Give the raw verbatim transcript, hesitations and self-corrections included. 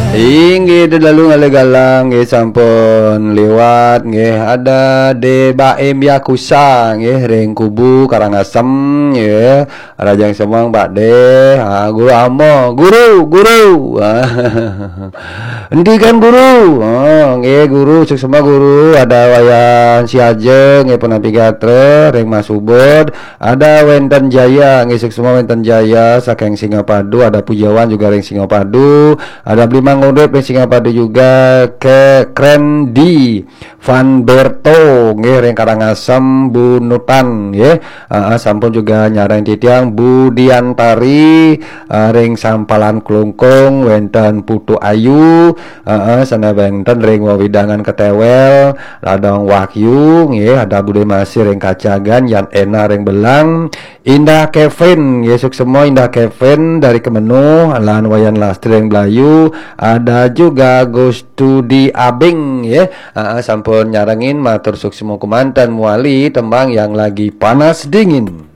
Inggih, dedalu ngalih galang nggih sampun liwat nggih. Ada De Baim Yakusa nggih ring Kubu Karangasem nggih. Rahajeng semeng Pak De. Ha, Guru Amo, guru, guru. Ha. Enti kan guru. Ha, nggih guru, suksma guru. Ada Wayan Siaja nggih punapi gatra ring Mas Ubud. Ada wénten Jaya, nggih suksma wénten Jaya saking Singapadu, ada Pujawan juga ring Singapadu, ada Bli Mang Urip ring Singapadu juga, ke Krendi Van Berto, nggih ring Karangasem Bunutan, nggih. Heeh, sampun juga nyarengin titiang Budiantari, eh, ring Sampalan Klungkung, wénten Putu Ayu, heeh, sané wénten ring wewidangan Ketéwél, Ladong Wahyu, nggih, ada Budé Masih ring Kacagan, Yan Ena ring Belang, Indah Kevin, nggih, suksma Indah Kevin dari Kemenuh, lan Wayan Lastri ring Blayu, ada juga Gustudi Abing, nggih. Heeh, sampun nyarengin, matur suksma kemanten, mawali tembang yang lagi panas dingin.